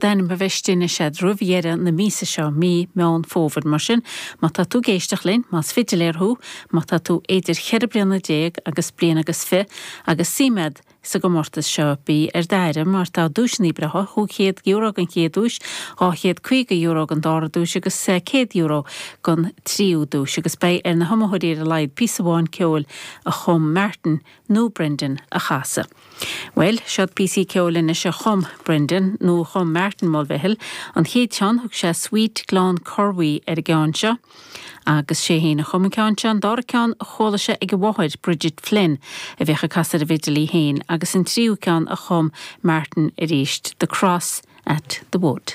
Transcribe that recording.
D'ainm a bheith istigh anois agat roimh dheireadh na míosa seo, mí Meán Fómhair. Mar sin, má tá tú ag éisteacht linn, más fidiléir thú, má tá tú idir cheithre bliana déag agus bliain agus fi agus suim agat sa gcomórtas seo, bí ar d'aire mar tá duaiseanna breátha, €500 don chéad duais, €250 don dara duais agus €100 don tríú duais. Agus beidh ar na hiomaitheoirí ar a laghad píosa amháin ceoil a chum Martin nó Brendan a chasadh. Bhuel, seod píosaí ceoil anois a chum Brendan, nó a chum Martin Mulvihill. An chéad cheann, thug sé Sweet Gleann Cormhaí ar an gceann seo, agus sé féin a chum an ceann seo. An dara ceann, chuala sé ag a mháthair, Bridget Flynn, a bhíodh ag casadh ar an bhfidil í féin, agus an tríú ceann a chum Martin arís, The Cross at the Wood.